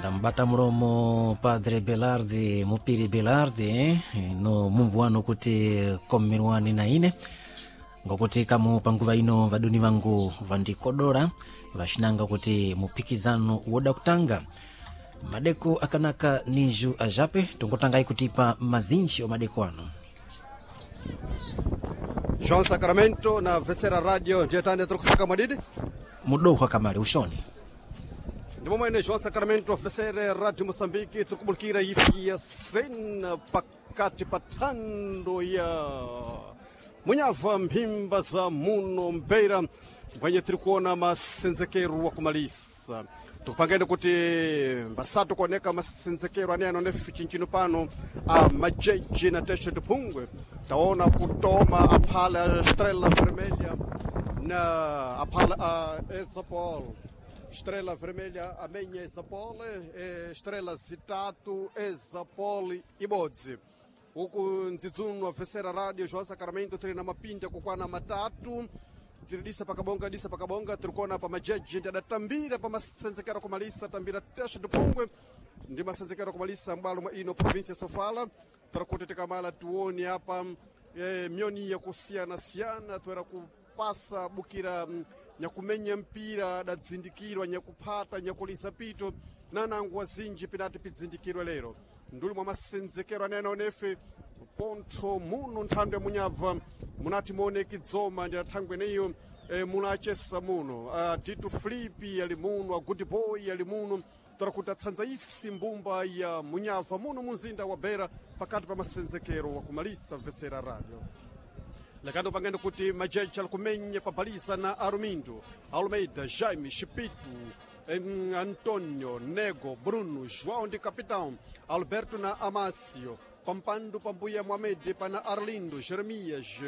Ndambata mulomo Padre Belardi, Mupiri Belardi, no mumbu wanu kuti komerwani na ine, ngokuti kamu panguva ino vadoni vangu vandikodola vaxinanga kuti mupikizano woda kutanga. Madeko akanaka niju ajape tongotangai kutipa mazinji o madeko ano. João Sacramento na Vecera Radio ndiye tiri kufika mwadidi. Mudohwa kamale uxoni. Ndi momwene João Sacramento, Vecera Radio Moçambique, tiri kubulukira ifi ya sena pakati pa thando ya Munhava, mphimba za muno Mbeira, mbwenye tiri kuona masenzekero wa kumalisa. Tikupangeni kuti mbasatu kuoneka masenzekero ane anonefi chinchino pano a majeji na Teixeira de Pungwe. Taona kutoma aphala Estrela Vermelha na aphala a Exapol. Estrela Vermelha amenya Exapol, Estrela zitatu Exapol ibodzi. Uku ndzidzuno Vecera Radio João Sacramento tiri na mapinda kukwana matatu, tiri disa pakabonga, disa pakabonga. Tiri kuona pa majeji ndi adatambira pa masenzekero kumalisa, tambira Teixeira de Pungwe ndi masenzekero kumalisa mbalo mwa ino província ya Sofala. Tiri kuti tikamala tione apa myoni yakusiyana-siyana toera kupasa bukira nyakumenya mpira adadzindikirwa, nyakuphata, nyakulisa pito nanangu wazinji pinati pidzindikirwe lero nduli mwa masenzekero anene onefe pontho muno nthando ya Munhava munati muoneki dzoma ndi athangwe neyo munachesa muno Tito Filipi ali muno, a Good Boy ali muno, tora kuti atsanza isi mbumba ya Munhava muno munzinda wa Beira pakati pa masenzekero wakumalisa Vecera Radio. Lakando pangendo kuti majeji alikumenya pabaliza na Arumindo, Almeida, Jaime, Chipito, Antonio, Nego, Bruno, João de Capitão, Alberto na Amácio, Pampando Pambuia Mohamed, pana Arlindo, Jeremias,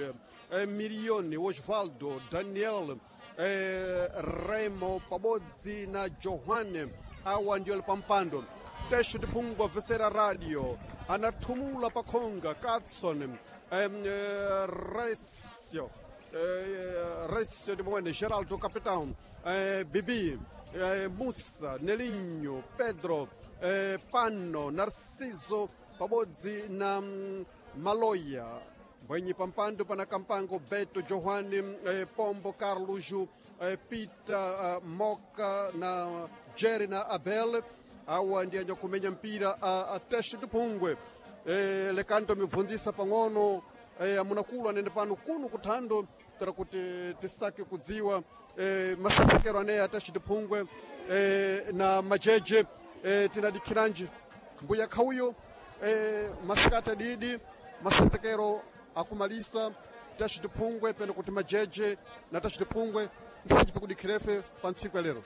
Mirione, Osvaldo, Daniel, Remo, Pabodzi na Johanne, awa ndio Pampando. Teixeira de Pungwa, Vecera Radio, anathumula pakhonga, Katson, Recio, Recio de Moene, Geraldo Capitão, Bibi, Mussa, Nelinho, Pedro, Pano, Narciso, pabodzi na Maloia. Mbwenyi pampando pana Kampango, Beto, Johane, Pombo, Carlos, Pita, Moca na Jerry na Abel, awa ndi anyakumenya mpira a Teixeira de Pungwe. Lekanto mibvunzisa pang'ono, amunakulu anene pano kuno kuthando tera kuti tisake kudziwa masenzekero aneya a Teixeira de Pungwe na majeje. Tinadikhiranji mbuya khauyo, masikati adidi masenzekero akumalisa Teixeira de Pungwe peno kuti majeje na Teixeira de Pungwe mphanji pikudikhirefe pa ntsiku ya lero.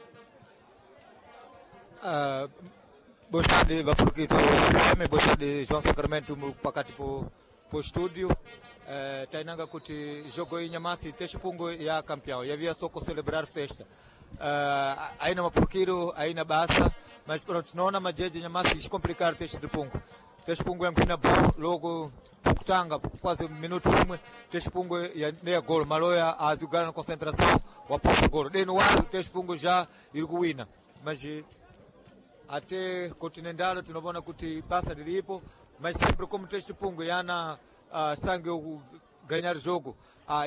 Boa tarde, Vaporquito FM, boa tarde, João Sacramento, pakati po estúdio. Tainanga kuti jogo iyi nyamasi Teixeira Pungwe ya campeão, yavia só celebrar festa. Aina mapurukiro, aina basa, mas pronto, naona majeje nyamasi iscomplicar Teixeira de Pungwe. Teixeira Pungwe yankwina bom, logo pokutanga quase minuto imwe Teixeira Pungwe ya neya golo, Maloya azugana na concentração, waposa golo. Deno waru Teixeira Pungwe já iri kuwina. Mas até continental tunaona kuti basa lilipo, mas sempre como Teixeira Pungwe yana sangue ganhar jogo,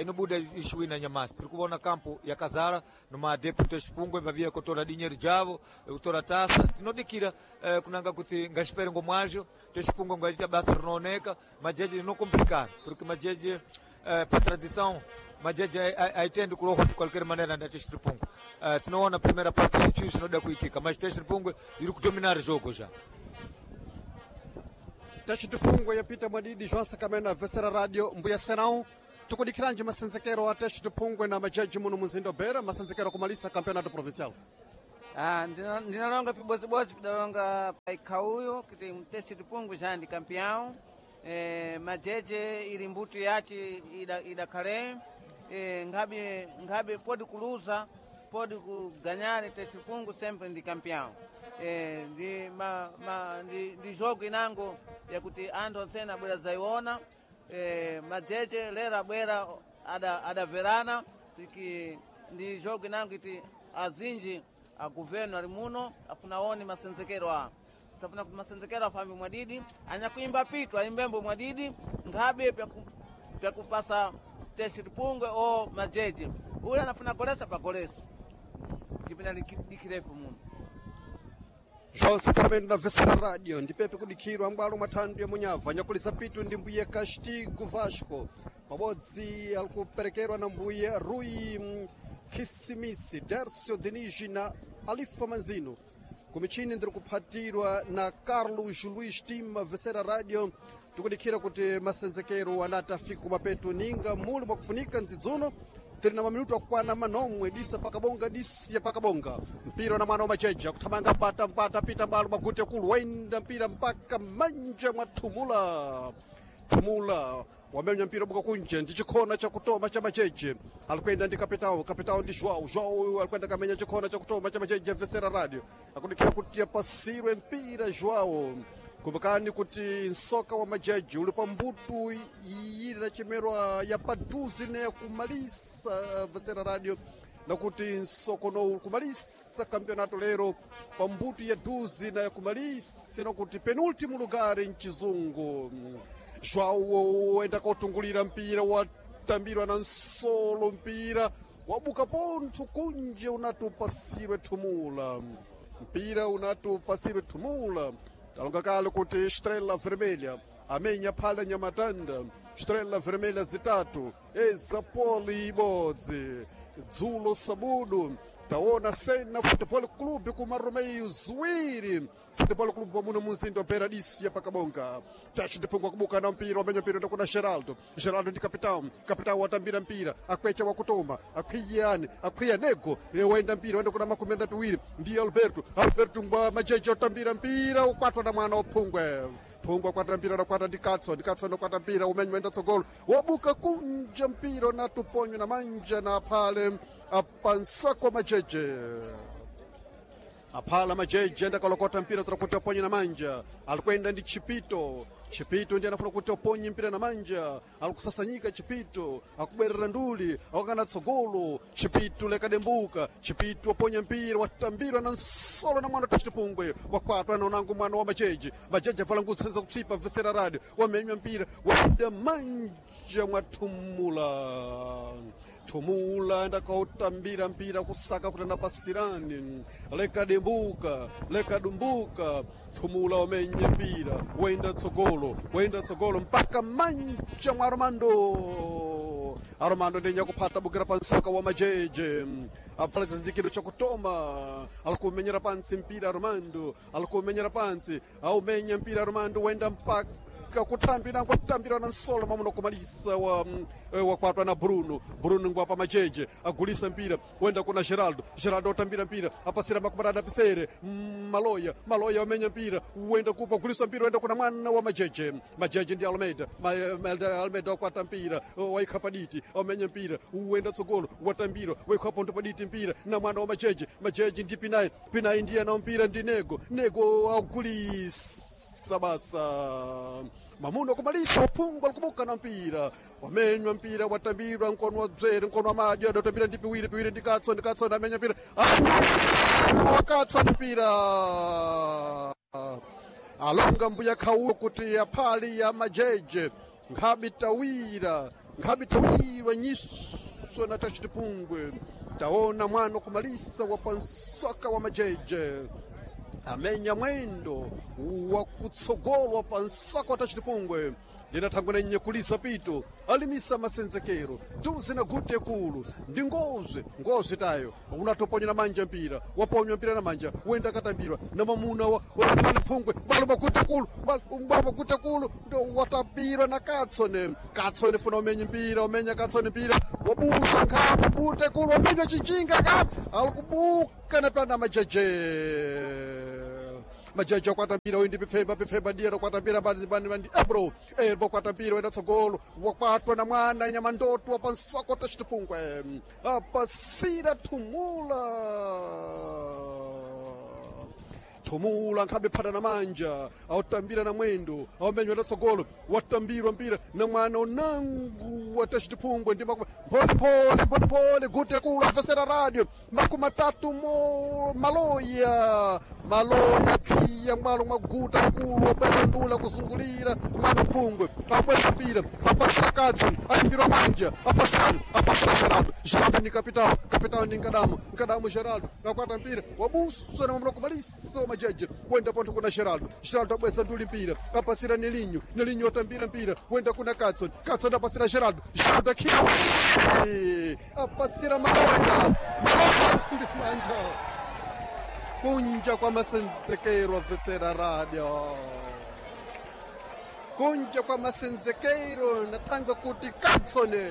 inobuda ishuwina nyamasi. Tiri kuona kampo yakazara noma adepto Teixeira Pungwe vavia kutora dinheiro javo, kutora taça. Tinodikira kunanga kuti ngaxipere ngomwazho Teixeira Pungwe ngaita basa rinooneka. Majeje rinocomplicado porque majeje, pa tradição majeje aitendi kulohwa de qualquer maneira na Teixeira Pungwe. Tinoona primeira parte ichi zvinoda kuitika, mas Teixeira Pungwe iri kudominar jogo já. Teixeira de Pungwe yapita mwadidi. João Sacramento na Vecera Radio, mbuya Serão, tukudikhiranji masenzekero a Teixeira de Pungwe na majeji muno munzinda wa Beira, masenzekero akumalisa campeonato provincial. Ndinalonga pibozibozi pidalonga paikhauyo kuti Teixeira de Pungwe já ndi campeão. Majeje ili mbuto yace idakhale nkhabe nkhabe podi kuluza podi kuganyana, Teixeira Pungwe sempre ndi campeão. Ndi, ma, ma, ndi jogo inango yakuti anthu ontsene abwera zayiona. Majeje lero abwera adaverana tiki ndi jogo inango iti azinji. A governo ali muno afuna one masenzekero a safuna kuti masenzekero afambe mwadidi, anyakuimba pito aimbembo mwadidi nkhabe pyakupasa tesi tipungwe o majeje ule anafuna golesa pagolesa tipina dikirefu muno. João Sacramento na Vesera Radio ndipepe kudikhirwa mbwalo mwa thandu ya munyava nyakulisa pitu ndi mbuye Castigo Vasco pabodzi alikuperekerwa na mbuye Rui Kissimisi Dercio Denigi na Alifa Manzino kumichini ndiri kuphatirwa na Carlos Luis Tima Vesera Radio tikudikhira kuti masenzekero anati afika kumapeto ninga muli mwakufunika ndzidzuno tiri na maminuto akwana manomwe disa pakabonga disiya pakabonga mpira na mwana wa macheja kuthamanga pata mpata pita mbalo magute kulu wainda mpira mpaka manja mwa thumula thumula wamenya mpira buka kunje ndi chikhona chakutoma cha macheche alikwenda ndi kapitao kapitao ndi Joao Joao alikwenda kamenya chikhona chakutoma cha macheche vesera radio akudikhira kuti apasirwe mpira Joao. Kumbukani kuti nsoka wa majaji uli pambutu iyili na chimerwa ya paduzi ne kumalisa vesera radio nakuti nsokono kumalisa campeonato lero pambutu ya duzi na kumalisa nakuti penultimo lugar mchizungu. Joao enda kotungulira mpira watambirwa na nsolo mpira wabuka pontho kunje unatupasirwe thumula mpira unatupasirwe thumula talonga kale kuti Estrela Vermelha amenya phala nyamatanda Estrela Vermelha zitatu Ezapoli ibodzi dzulo sabudu taona Sena Futebol Clube kuma Romeo ziwiri Futebol Clube pamuno munzinda wa disi ya pakabonga tacho ndipungwa kubuka na mpira wamenya mpira ndakuna Geraldo Geraldo ndi capitão capitão watambira mpira akwecha wakutoma akhwiyani akhwiya nego waenda mpira waenda kuna makumi andapiwiri ndi Alberto Alberto ngwa majeje otambira mpira ukwatwa na mwana waphungwe phungwe akwata mpira nakwata ndi Katso ndi Katso nakwata mpira umenya waenda tsogolo wabuka kunja mpira natuponywa na manja na aphale apansako majeje aphala majeje ndakalokota mpira tora kuti aponye na manja alikwenda ndi chipito chipito ndi anafuna kuti aponye mpira na manja alikusasanyika chipito akubwerera nduli akukana tsogolo chipito lekadembuka chipito aponya mpira watambirwa na nsolo na mwana tachitipungwe wakwatwa na unangu mwana wa majeje majeje avala ngutsenza kupsipa vesera radio wamenywa mpira waenda manja mwathumula thumula ndakautambira mpira kusaka kuti anapasirani lekadembuka lekadumbuka thumula wamenya mpira waenda tsogolo waenda tsogolo mpaka manja mwa Armando Armando ndinya kuphata bukira pansoka wa majeje apfala chizindikiro chakutoma alikumenyera pansi mpira Armando alikumenyera pansi aumenya mpira Armando waenda mpaka kutambira kwatambira na nsolo mamuno kumalisa wa wakwatwa na Bruno Bruno ngwapa majeje agulisa mpira wenda kuna Geraldo Geraldo otambira mpira apasira makumarada pisere Maloya Maloya wamenya mpira wenda kupa gulisa mpira wenda kuna mwana wa majeje majeje ndi Almeida Almeida wakwata mpira waikha paditi wamenya mpira wenda tsogolo watambira waikha ponto paditi mpira na mwana wa majeje majeje ndi Pinai Pinai ndiye na mpira ndi Nego Nego agulisa basa mamuno kumalisa uphungu alikubuka na mpira wamenywa mpira watambirwa nkono wa dzere nkono wa madya adatambira ndi piwiri piwiri ndikatso ndikatso ndamenya mpira wakatso ndi mpira alonga mbuya khauwo kuti aphali ya majeje nkhabitawira nkhabitawirwa nyiso na tachitipungwe taona mwana kumalisa wapansoka wa majeje amenya mwendo wakutsogolwa pansako atachitipungwe ndinathangwe nenye kulisa pito alimisa masenzekero duze na gute kulu ndi ngozwe ngozwe tayo unatoponya na manja mpira waponywa mpira na manja wenda katambirwa na mamuna wa phungwe balo magute kulu balo magute kulu ndo watambirwa na katsone katsone funa umenye mpira umenya katsone mpira wabusa nkhapo mbute kulu wamenywa chinjinga kapo alikubuka na pana majeje majaji akwata mpira uyu ndi pifemba pifemba ndiye akwata mpira bandi ebro ebro akwata mpira wenda tsogolo wakwatwa na mwana nyamandoto wapansoko tachitipungwe apasira thumula thumula nkhabe phata na manja awutambira na mwendo awumenywa tatsogolo watambirwa mpira na mwana unangu Watachitiphungwe ndi mpholepole mpholepole gute kulu afesera radio 30 mo maloya maloya khiya mwalo mwa guta ikulu wabweza ndula kuzungulira mwana phungwe abweza mpira apasira Katson ayimbirwa manja apasirano apasira Geraldo. Geraldo ni kapitao, kapitao ni Nkadamo, Nkadamo Geraldo akwata mpira wabusa na mamloko malisa wa majeje wenda ponto kuna Geraldo. Geraldo abweza nduli mpira apasira Nelinho, Nelinho atambira mpira wenda kuna Katson, Katson apasira Geraldo, Geraldo akhiya apasira Maloya, Maloya ndi manja kunja kwa masenzekero afesera radio kunja kwa masenzekero natangwa kuti Katsone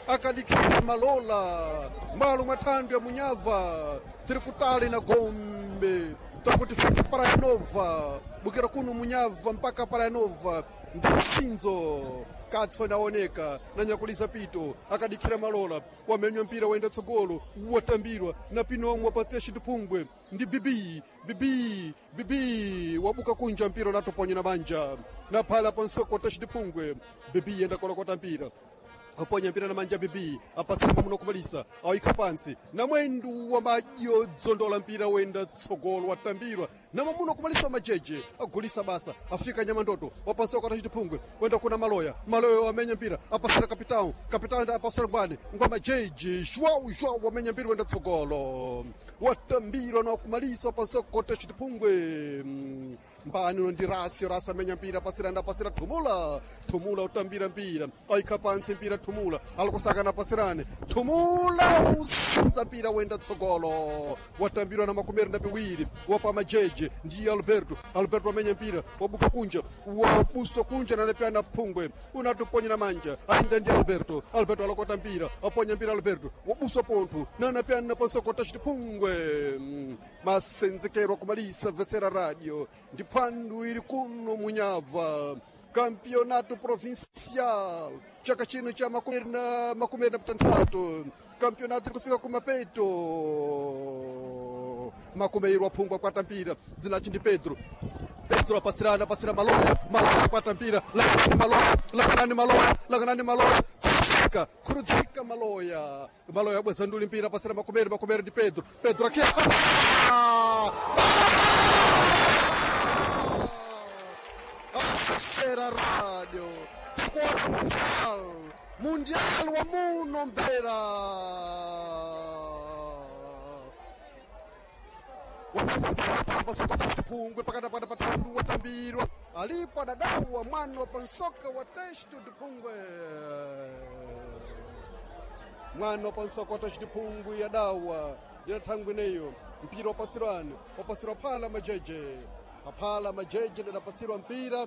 akadikira malola malo mwathando ya munyava tiri kutali na gombe tiri fika Praia Nova bukira kuno munyava mpaka Praia Nova ndi msinzo. Katsone aoneka nanyakulisa pito akadikira malola wamenywa mpira wenda tsogolo watambirwa na pino omwe wapatsiya citiphungwe ndi bibi bibi bibi wabuka kunja mpira unatoponya na banja na phala pansoko ta citiphungwe bibi yenda kolokota mpira aponya mpira na manja bibi apasira mamuno kumalisa awika pansi na mwendu wa madyo dzondola mpira wenda tsogolo watambirwa na mamuno kumalisa majeje agulisa basa afika nyamandoto wapansi wakata chitiphungwe wenda kuna maloya maloya wamenya mpira apasira kapitao kapitao enda apasira ngwane ngwa majeje jwau jwau wamenya mpira wenda tsogolo watambirwa na wakumalisa wapansi wakota chitiphungwe mbani uno ndi rasio rasio amenya mpira apasira enda apasira thumula thumula utambira mpira ayikha pansi mpira thumula alikusakana pasirane thumula usinza mpira wenda tsogolo watambirwa na 22 wapa majeje ndiye Alberto. Alberto amenya mpira wabuka kunja wabuswa kunja nanepyana phungwe unatuponya na manja ainda ndi Alberto. Alberto alokota mpira aponya mpira Alberto wabuswa pontho nanapyana pansokota citiphungwe masenzekero kumalisa vesera radio ndi phwandu ili kuno munyava Campeonato Provincial chaka chino cha 26 campeonato kufika kumapeto makumeiro aphungwa kwata mpira dzinachi ndi Pedro. Pedro apasirana apasira maloya maloya akwata mpira lakanani maloya lakanani maloya lakanani maloya kurudzika kurudzika maloya maloya abweza nduli mpira apasira makumeri makumeri ndi Pedro. Pedro akia Sera radio tikuona mundial mundial wa muno mbera wamapungwe pakati pata patandu watambirwa alipo adadawa mwana wa pansoka wa testu dipungwe mwana wa pansoka wa testu dipungwe yadawa ndinathangwineyo mpira wapasirwani wapasirwa phala majeje aphala majeje ndinapasirwa mpira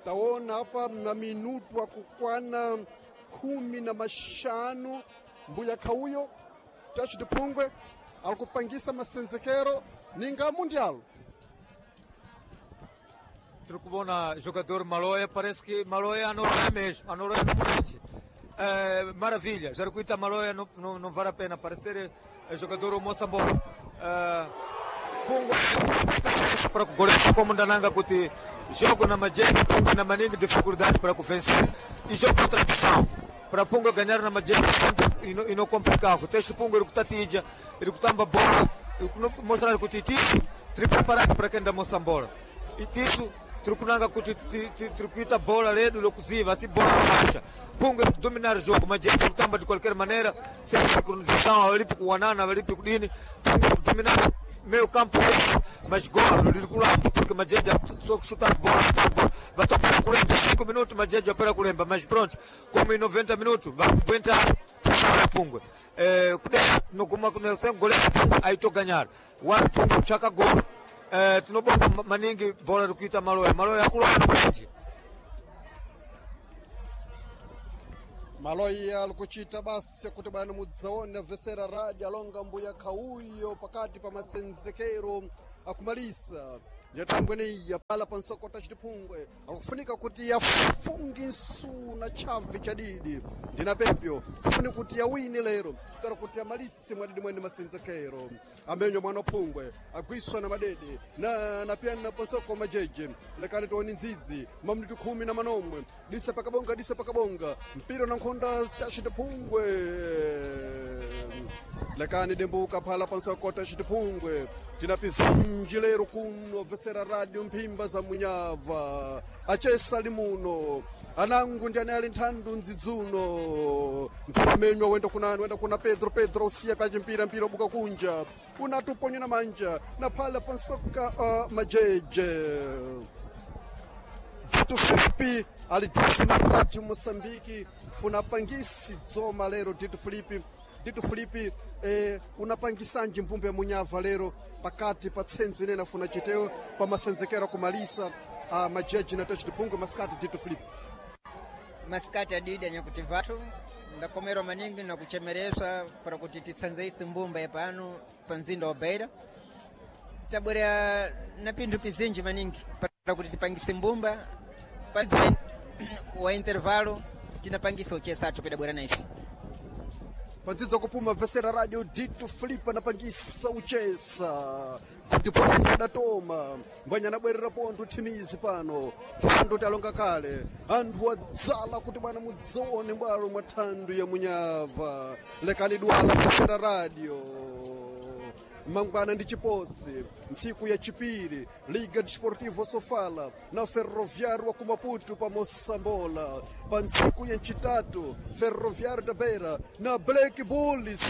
taona hapa na minutu akukwana 15 mbuya khauyo tachitiphungwe alikupangisa masenzekero ninga mundialo. Tiri kuvona jogador Maloya, parece que Maloya anoroia mesmo, anoroia no Morente. É, maravilha, já recuita Maloya não, não, não vale a pena, parecer é, jogador o Moçambola. É, Pungo para goleiro como Dananga kuti jogo na Majene, Pungo na maningi dificuldade para vencer e jogo tradição. Para Pungo ganhar na Majene sempre e não complicado. Texto Pungo ele kutatija, ele kutamba bola, mostrar kuti tisu tri preparado para quem da Moçambola. E tisu tirikunanga kuti tirikuita bola ledu lokuziva asi bola lokacha Pungo iri kudominar o jogo mas iri kutamba de qualquer maneira sem sincronização alipi kuwanana alipi kudini. Pungo iri kudominar meio campo mas golo liri kulamba porque Majeja só chutar bola chutar bola vai para kulemba 5 minutos Majeja para kulemba mas pronto como em 90 minutos vai aguentar puxar Pungo noguma sem goleiro Pungo aí tô ganhar o Pungo chaka golo tinobonga maningi bola rikuita maloya maloya akulwana mwenje Maloya alikuchita basi kuti bwana mudzaone vesera radio alonga mbuya khauyo pakati pa masenzekero. Akumalisa nyatangweneya pala pansokota chitiphungwe akufunika kuti yafungi nsuna chavi chadidi ndina pepyo sifuni kuti yawine lero tara kuti yamalise mwadidi mwene masenzekero amenywa mwana phungwe agwiswa na madede na napyana pansoko majeje lekani tioni ndzidzi mamnitu 18 disa pakabonga disa pakabonga mpira na nkhonda tachitiphungwe lekani dembuka phala pansokota chitiphungwe tinapizinji lero kuno vesera radio mphimba za munyava achesa limuno anangu ndi ane ali nthandu ndzidzuno mpira menywa wenda kunani wenda kuna pedro pedro usiya pachimpira mpira ubuka kunja unatuponya na manja na phala pansoka majeje Dito Filipe aliduse na radio Moçambique funa pangisi dzoma lero Dito Filipe Dito Filipe unapangisanji mbumbe munyava lero pakati pa tsenzo inene afuna chiteo pamasenzekero kumalisa majeji na tachitiphungwe masikati Dito Filipe. Masikati adidi anyakuti vathu ndakomerwa maningi nakuchemereswa para kuti titsanzeise mbumba yapano pa mzinda wa Beira. Tabwera na pinthu pizinji maningi para kuti tipangise mbumba panzi wa intervalo tinapangisa uchesathu pedabwera na ife. Pandzidzo kupuma vesera radio Dito Filipe anapangisa uchesa kuti pwanya adatoma mbwanya anabwerera pontho thimizi pano thando talonga kale anthu adzala kuti bwana mudzione bwalo mwa thandu ya munyava lekani dwala vesera radio mangwana ndi chiposi ntsiku ya chipiri Liga Desportivo Sofala na Ferroviário wa kumaputu pa Moçambola pa ntsiku ya ncitatu Ferroviário da Beira na Black Bulls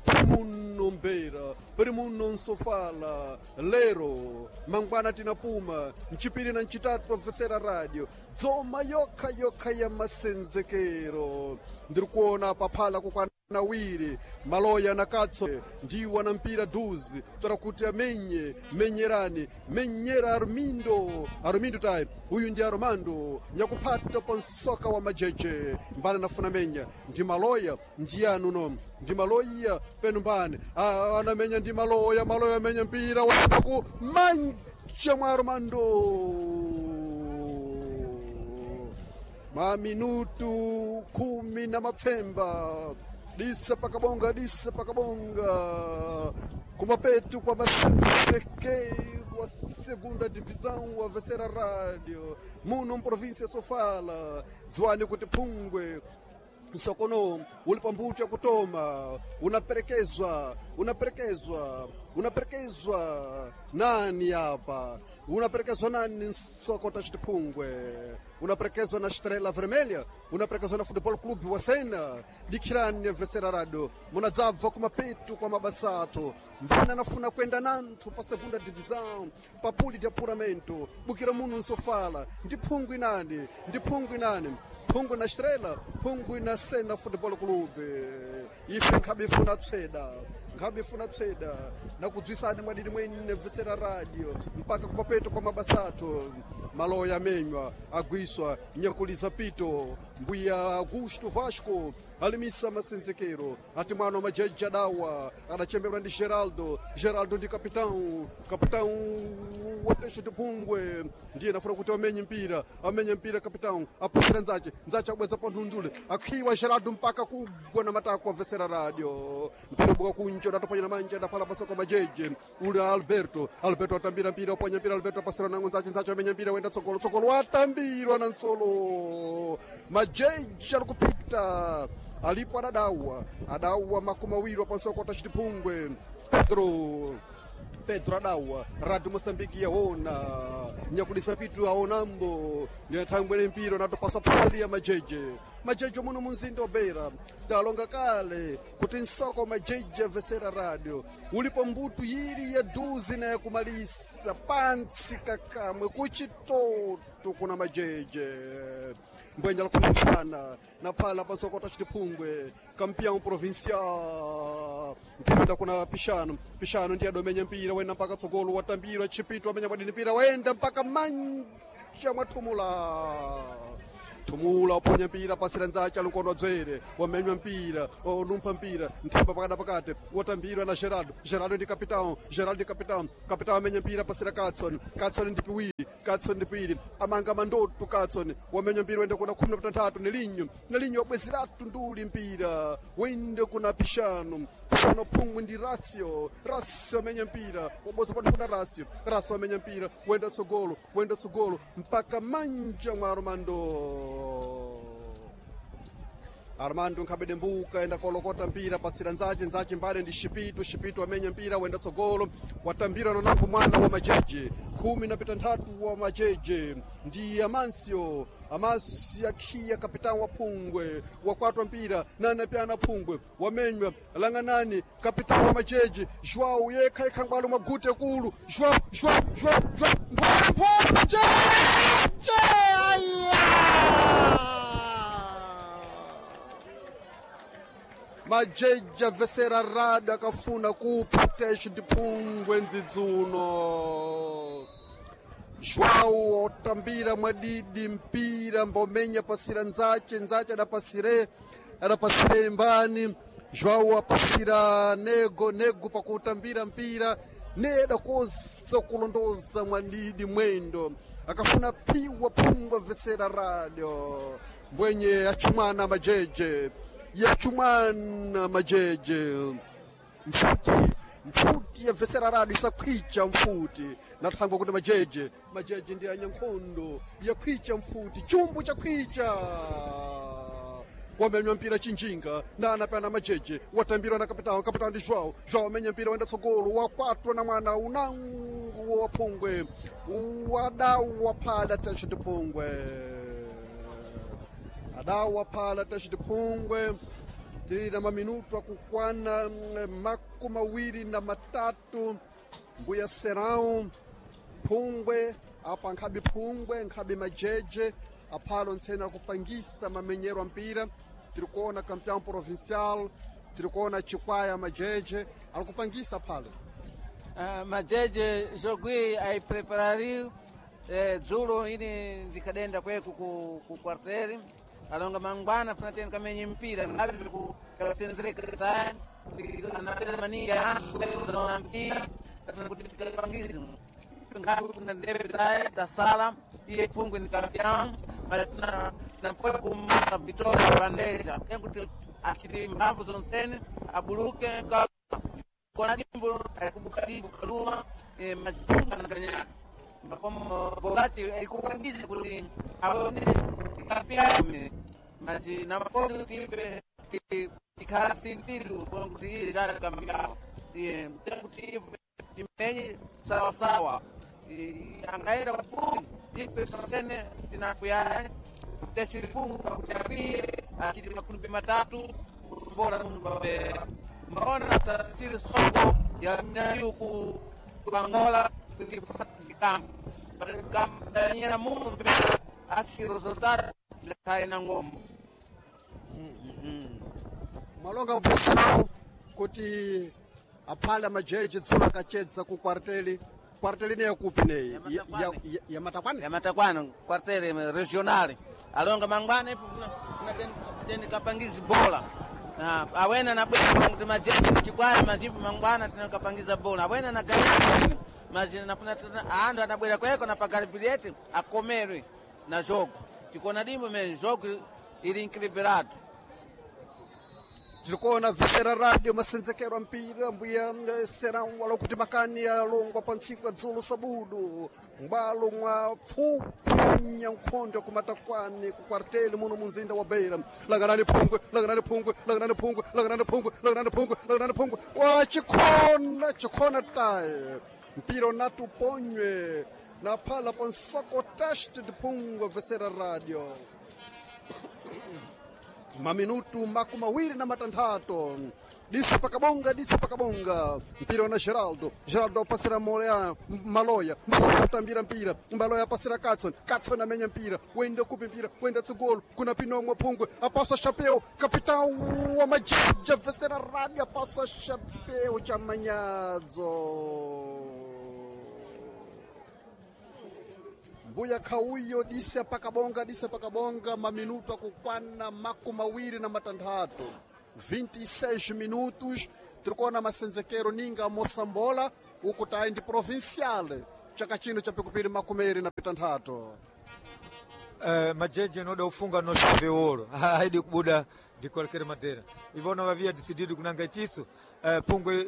primuno Beira primuno Sofala lero mangwana tinapuma mchipiri na ncitatu profesera radio dzoma yokha yokha ya masenzekero ndiri kuona paphala kukwana nawiri maloya na katso ndiwa na mpira duzi tora kuti amenye menyerani menyera armindo armindo tai uyu ndi armando nyakuphata pa nsoka wa majeje mbana nafuna menya ndi maloya ndiyanu no ndi maloya penu mbani anamenya ndi maloya maloya amenya mpira waenda ku manja mwa armando maminutu 17 disa pakabonga disa pakabonga kumapetu kwa masenzekeiro a segunda divisão a vencer radio muno província Sofala dzwani kuti phungwe msokono uli pambuto ya kutoma unaperekezwa unaperekezwa unaperekezwa nani apa unaperekezwa nani nsokota chitiphungwe unaperekezwa na Estrela Vermelha unaperekezwa na Futebol Clube wa Sena dikhirani vesera radio munadzabva kumapetu kwa mabasathu mbana nafuna kwenda nanthu pa segunda divisão pa puli de apuramento bukira muno nsofala ndi phungwe inani ndi phungwe inani phungwe na Estrela phungwe na Sena Futebol Clube ife nkhabe ifuna tsweda nkhabe ifuna tsweda nakudzwisani mwadidi mwene vesera radio mpaka kumapeto kwa mabasathu maloya amenywa agwiswa nyakuliza pito mbuya Augusto Vasco alimisa masenzekero ati mwana wa majeji adawa adachemberwa ndi Geraldo Geraldo ndi capitão capitão wateshe tiphungwe ndiye nafuna kuti amenye mpira amenye mpira capitão apasira nzache nzache abweza pa nthundule akhiwa Geraldo mpaka kugwa na matako avesera radio mpira buka kunja udatopanya na manja adaphala pasoko majeje uli Alberto Alberto atambira mpira uponya mpira Alberto apasira nango nzache nzache amenya mpira wenda tsogolo tsogolo watambirwa na nsolo majeje ari kupita alipo adadawa adawa 20 pansoko tachitiphungwe Pedro Pedro adawa radio Moçambique yaona nyakulisa pitu aonambo nyathangwene mpira natopasa phali ya majeje majeje muno munzinda wa Beira talonga kale kuti nsoko majeje avesera radio ulipo mbutu yili ya duzi na yakumalisa pantsi kakamwe kuchitoto kuna majeje mbwenya lakumphana na phala pasokota chitiphungwe campeão provincial mpira kuna pishano pishano ndiye adomenya mpira wenda mpaka tsogolo watambira chipito amenya kwadini mpira wenda mpaka manja mwathumula. Thumula uponya mpira pasira nzache alinkono dzwere wamenywa mpira onumpha mpira nthemba pakati pakati wotambirwa na Gerardo. Gerardo ndi capitão, Gerardo ndi capitão, capitão amenya mpira pasira Katson. Katson ndi piwiri, Katson ndi piwiri, amanga mandotu Katson wamenya mpira wende kuna 13 nelinyo, nelinyo wabwezeratu nduli mpira wende kuna Pishano, Pishano phungwi ndi Rasio, Rasio amenya mpira waboza pano kuna Rasio, Rasio amenya mpira wenda tsogolo, wenda tsogolo mpaka manja mwa Armando. Armando nkhabede mbuka enda kolokota mpira pasira nzache, nzache mbale ndi Shipitu, Shipitu amenya mpira wenda tsogolo watambira nonango mwana wa majeje 13 wa majeje ndi Amansio, Amansio akhiya kapitão wa phungwe wakwatwa mpira nana pyana phungwe wamenywa langanani kapitão wa majeje João yekha yekha ngwalo mwagute kulu João, João, João, João mphole mphole majeje aya majeje avesera rada akafuna kupha tesho ndiphungwe ndzidzuno. João otambira mwadidi mpira mbomenya pasira nzache, nzache adapasire, adapasire imbani. João apasira nego, nego pakutambira mpira neda koza kulondoza mwadidi mwendo akafuna piwa phungwa vesera radio mbwenye achumwana majeje yachumwana majeje mfuti mfuti yabvesera rado isakhwicha mfuti nathangwa kuti majeje, majeje ndi anyankhondo yakhwicha mfuti chumbu chakhwicha wamenywa mpira chinjinga nana pana majeje watambirwa na kapitao, kapitao ndi João, João amenya mpira wenda tsogolo wakwatwa na mwana unangu wa phungwe wadawa phala tesho tiphungwe adawa phala tesho tiphungwe tili na maminutu akukwana 23 mbuya serão phungwe apa nkhabi phungwe nkhabi majeje aphalo ntsena akupangisa mamenyero a mpira. Tiri kuona campeão provincial, tiri kuona chikwaya majeje alikupangisa phalo. Majeje jogui aipreparariu dzulo ini ndikadenda kweku ku quartel alonga mangwana funa tena kamenye mpira tasala iye phungwe ni campeão mas na pode kumasa vitória bandeja kuti achiti mphamvu zonsene abuluke kona jimbo akubukadibu kaluma mazipunga na makomo ikupangiza kuti aone kapiyame mazi namapodi tipe tikhala sintiru kuti iye jara kambiao kuti ife timenye sawasawa angaenda kwapungi ife tosene tinakuyaya tesiripungu pakutapiye achiti makulupe matatu bora mbaona tasiri soko ya mnyayu ku Angola kambo mundu asi resultado lekae na ngombo malonga bosao kuti aphala majeje tsola akachedza ku kwarteli kwarteli ne yakupi neyi ya matakwana ya matakwana kwarteli regional alonga mangwana ipo kuna teni kapangizi bola awena na bwena kuti majeje ni chikwaya mazipo mangwana tena kapangiza bola awena na ganyana mazina nafuna tena andu anabwera kweko na pagari bilete akomerwe na jogo tikona dimbo men jogo ili equilibrado. Tirikuona vesera radio masenzekero a mpira mbuya serão wala kuti makani alongwa pa ntsiku ya dzulo sabudu mbwalo mwa pfupwanya nkhondo kumatakwani ku kwarteli muno munzinda wa Beira. Langanani phungwe, langanani phungwe, langanani phungwe, langanani phungwe, langanani phungwe, langanani phungwe wa chikhona chikhona taye mpira unati uponywe na phala pa nsoko test de phungwe vesera radio maminutu 26 disa pakabonga, disa pakabonga mpira na Geraldo, Geraldo apasira Morea, Maloya, Maloya atambira mpira, Maloya apasira Katson, Katson amenya mpira wenda kupi mpira wenda tsogolo kuna Pinomwe Phungwe apasa chapeu capitão wa majeje vesera radio apasa chapeu cha manyadzo. Mbuya Kauyo disa pakabonga, disa pakabonga, maminuto akukwana 26, 26 minutos. Tirikuona masenzekero ninga mosambola uku tayi ndi provincial chaka chino cha pikupiri 26. Majeje noda ufunga no chave ouro haidi kubuda de qualquer maneira. Ivona havia decidido kunanga itiso pungwe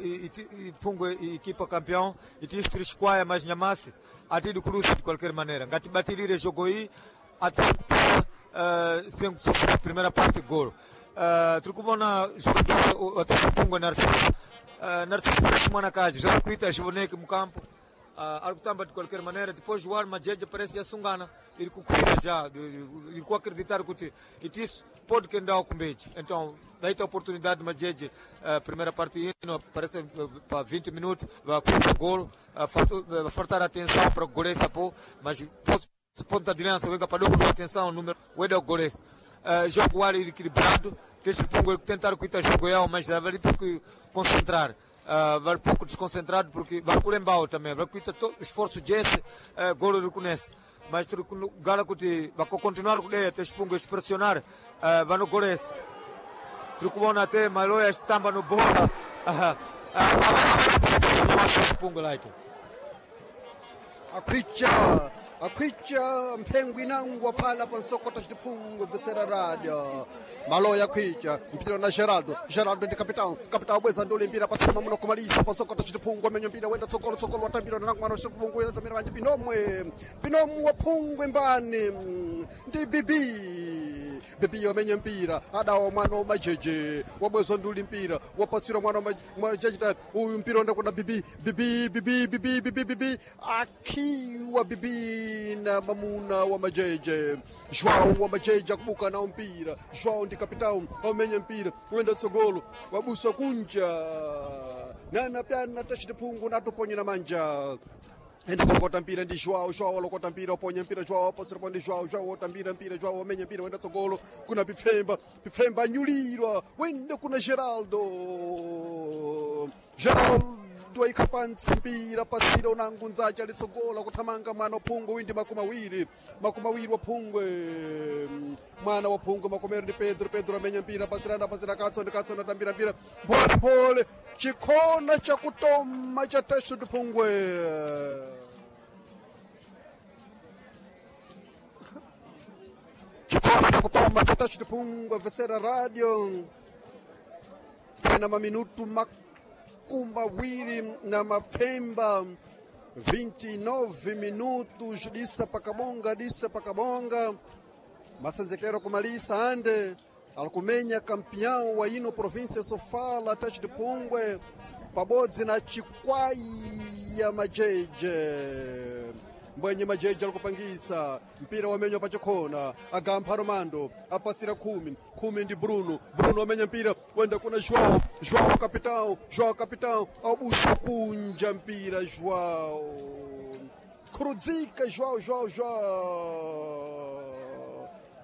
pungwe equipa campeão itiso trisquaia mais nyamasi atidi kulusa de qualquer maneira. Ngati batilire jogo iyi até kupita sem sofrer a primeira parte golo. Trikuvona jogador até pungwe Narciso. Narciso parece mwana kazi já kuita jivoneke mukampo. Ali kutamba de qualquer maneira. Depois o Arma Jeje parece asungana, ele kukuira já, ele ku acreditar que isso pode quendar o kumbeji. Então, daí a oportunidade Majeje, primeira parte parece para 20 minutos, vai com o golo, faltar atenção para o goleiro pô, mas ponta de lança, venga para dobro atenção, número, o o goleiro. Jogo ar equilibrado, deixa o Pungo tentar cuidar jogo é, mas vale pouco concentrar. Vai pouco desconcentrado porque vai culembao também, vai cuidar todo esforço desse, golo reconhece. Mas gala kuti vai continuar com ele, até Pungo pressionar, vai no goleiro. Trucubona até Maloya estamba no bola. Pungo lá então. Akwicha akwicha mphengo inangwa phala pansokota xitiphungu bvisera radio maloya akwicha mpira na Geraldo. Geraldo ndi capitão, capitão bweza ndule mpira pasima muno kumalisa pansokota xitiphungu amenyo mpira wenda tsogolo, tsogolo watambira na mwana xitiphungu wenda tambira vandi pinomwe pinomwe waphungwe mbani ndi bibi bibi wamenye mpira adawa mwana wa majeje wabwezwa nduli mpira wapasira mwana wa majeje uyu mpira onda kuna bibi bibi bibi bibi bibi bibi akiwa bibi na mamuna wa majeje João wa majeje akubuka nao mpira. João ndi kapitão wamenye mpira wenda tsogolo wabuswa kunja nana pyana tachitiphungu natuponyera manja enda kulokota mpira ndi João. João alokota mpira oponya mpira João aposerapo ndi João. João otambira mpira João amenya mpira wenda tsogolo kuna Pipfemba. Pipfemba anyulirwa wenda kuna Geraldo. Geraldo aikha pantsi mpira pasira unangu nzacha litsogola kuthamanga mwana wa phungwe windi 20, 20 wa phungwe mwana wa phungwe makomero ndi Pedro. Pedro amenya mpira pasirana pasira katso ndi katso natambira mpira mphole mphole chikhona chakutoma cha teso ndi phungwe chikhona chakutoma cha teso ndi phungwe vesera radio tena maminutu 29 29 minutos disa pakabonga, disa pakabonga masenzekero kumalisa ande alikumenya campeão wa ino província Sofala Tete de Pungwe pabodzi na Chikwaya Majeje mbwenye majeje alikupangisa mpira wamenywa pachikhona agampha Romando apasira khumi khumi ndi Bruno. Bruno amenya mpira wenda kuna João. João capitão, João capitão abusa kunja mpira João khurudzika João João João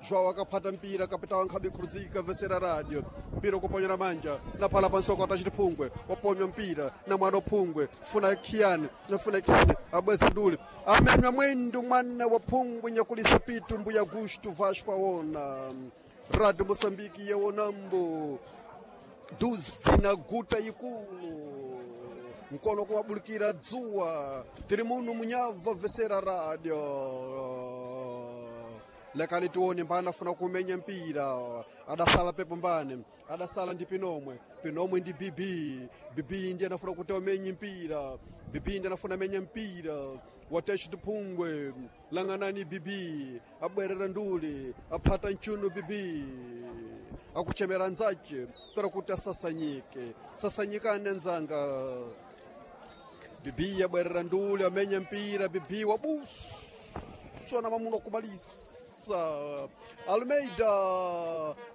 João akaphata mpira kapitão ankhabe khurudzika vesera radio mpira ukuponyera manja naphala pansoko atachitiphungwe waponywa mpira na mwana waphungwe funa khiyani nafuna khiyani abweza ndule amenywa mwendo mwana wa phungwe nyakulisa pitu mbuya Gusto Vasco aona Radio Moçambique yaonambo duzi na guta ikulu mkono kuwabulikira dzuwa tiri muno munyava vesera radio lekani tione mbani afuna kumenya mpira adasala pepo mbani adasala ndi pinomwe pinomwe ndi bibi bibi ndi anafuna kuti amenye mpira bibi ndi anafuna amenya mpira watecho tiphungwe lang'anani bibi abwerera nduli aphata mchuno bibi akuchemera nzache tora kuti asasanyike sasanyikane nzanga bibi abwerera nduli amenya mpira bibi wabuswa na mamuno kumalisa Almeida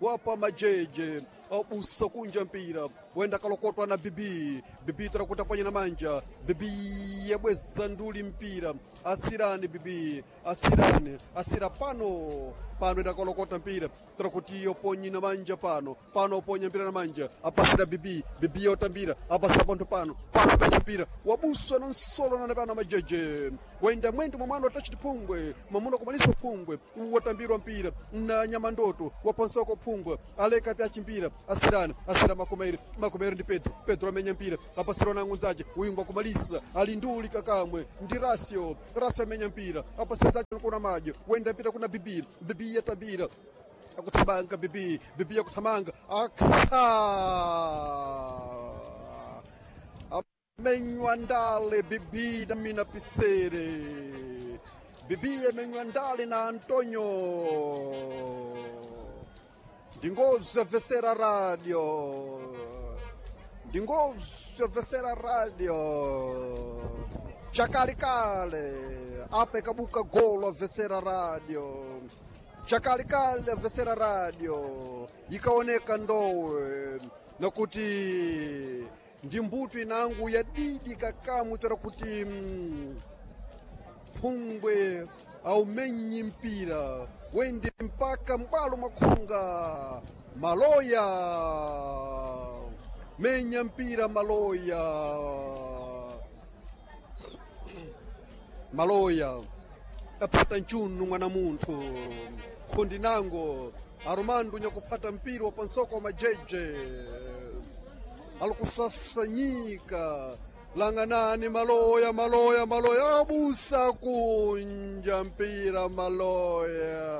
wapa majeje Abusa kunja mpira wenda kalokotwa na bibi bibi tarakuta panya na manja bibi yabweza nduli mpira asirani bibi asirani asira pano pano idakalokota mpira tarakuti yoponyi na manja pano pano oponya mpira na manja apasira bibi bibi yotambira apasira panto pano pano apenya mpira wabuswa na nsolo na pano majeje wenda mwendo mwamwana watachiti phungwe mwamuna kumalisa phungwe watambirwa mpira na nyamandoto wapansoko phungwe aleka pyachi mpira asirani asira makomeiri makomeiri ndi pedro pedro amenya mpira apasira na ngunzache uyingwa kumalisa alinduli kakamwe ndi rasio rasio amenya mpira apasira zache kuna majo wenda mpira kuna bibi bibi yatambira akuthamanga bibi bibi yakuthamanga akha amenywa ndale bibi na mina pisere bibi amenywa ndale na antonio ndingozi yavesera radio ndingozi yavesera radio chakalikale apa ikabuka golo avesera radio chakalikale avesera radio ikaoneka ndowe nakuti ndi mbuto inangu yadidi kakamwe tora kuti phungwe aumenyi mpira wende mpaka mbwalo mwakhonga maloya menya mpira maloya maloya apata nchunu mwana munthu khundi nango aromando nyakuphata mpira wa pansoko wa majeje alikusasanyika langanani maloya maloya maloya abusa kunja mpira maloya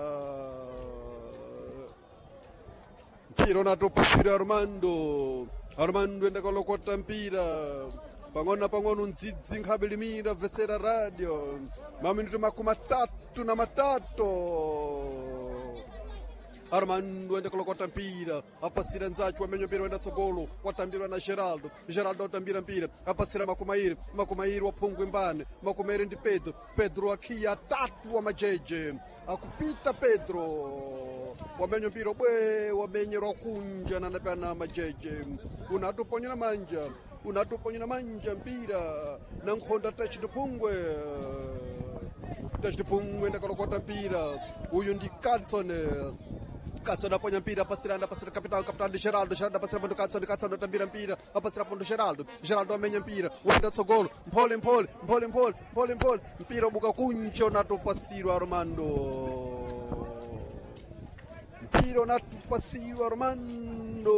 mpira unatopasira armando armando endakalokota mpira pang'ono na pang'ono ndzidzi nkhabe vesera radio maminuti 33 Armando ende kulokota mpira apasira nzachu wamenya mpira wenda tsogolo watambirwa na Geraldo Geraldo atambira mpira apasira Makumairi Makumairi waphungwe mbane Makumairi ndi Pedro Pedro akhiya tatu wa majeje akupita Pedro wamenya mpira bwe wamenyerwa kunja nanapana majeje unatuponyera manja unatuponyera manja mpira na nkhonda tachitiphungwe tachitiphungwe ndakalokota mpira uyu ndi Kadson Katson aponya mpira apasira apasira capitão capitão de Geraldo Geraldo apasira pondo Katson Katson atambira mpira apasira pondo Geraldo Geraldo amenya mpira wenda tsogolo mphole mphole mphole mphole mphole mphole mpira ubuka kunja unatopasirwa Armando mpira unatopasirwa Armando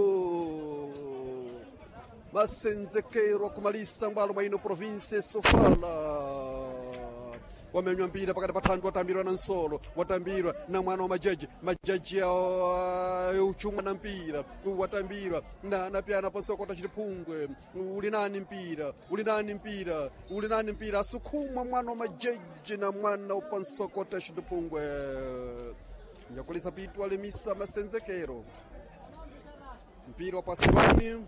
masenzekerwa kumalisa ngwalo mwa ino province Sofala wamenywa mpira pakati pa thandu watambirwa na nsolo watambirwa na mwana wa majeje majeje uchumwa na mpira watambirwa na napyana pasoko tachitiphungwe uli nani mpira uli nani mpira uli nani mpira asukhumwa mwana wa majeje na mwana upansoko tachitiphungwe nyakulisa pitu alemisa masenzekero mpira wapasiwani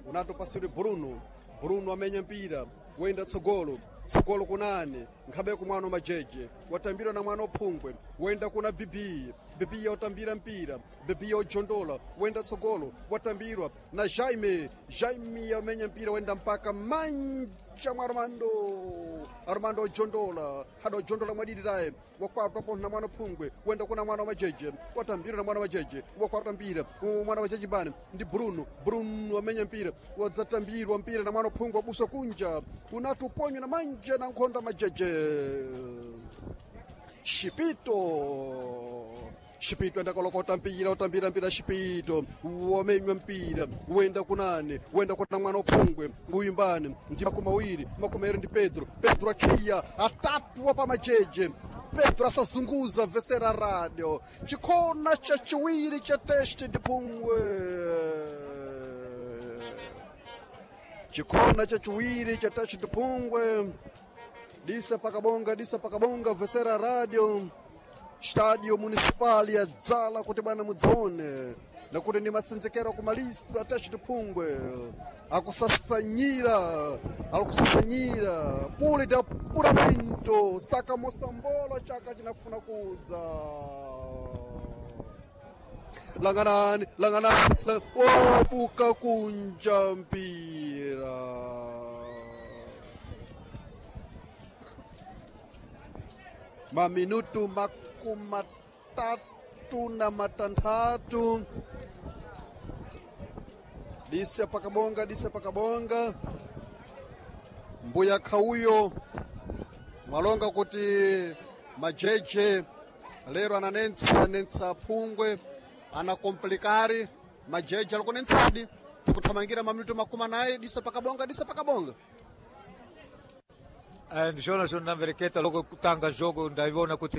unatopasirwe Bruno Bruno amenya mpira wenda tsogolo tsogolo kunani nkhabe kumwana wa majeje watambirwa na mwana ophungwe wenda kuna bibi bibi yotambira mpira bibi yojondola wenda tsogolo watambirwa na jaime jaime yamenya mpira wenda mpaka manja mwa armando armando ojondola hada ojondola mwadidiraye wakwatwa po na mwana phungwe wenda kuna mwana wa majeje watambirwa na mwana wa majeje wakwatwa mpira mwana wa majeje bani ndi bruno bruno amenya mpira wadzatambirwa mpira na mwana phungwe wabusa kunja unatuponywa na manja na nkhonda majeje Shipito Shipito enda kolokota mpira utambira mpira Shipito wamenywa mpira wenda kunane wenda kuna mwana ophungwe uyimbane ndi makumawiri makumairi ndi Pedro Pedro akhiya atatu wa pamajeje Pedro asazunguza vesera radio chikhona cha chiwiri cha teste ndiphungwe chikhona cha chiwiri cha teste ndiphungwe disa pakabonga disa pakabonga vesera radio stadio municipal ya dzala kuti bwana mudzaone nakuti ndi masenzekero kumalisa tachitiphungwe akusasanyira alikusasanyira puli da puramento saka mosambola chaka chinafuna kudza Langanani, langanani, wabuka kunja mpira. Maminutu 36. Dise pakabonga, dise pakabonga. Mbuya Khauyo mwalonga kuti majeje lero ananensa nensa phungwe anakomplikari majeje alikunensadi tikuthamangira maminutu 40. Dise pakabonga, dise pakabonga. Ndishona shona namvereketa loko kutanga jogo ndaiona kuti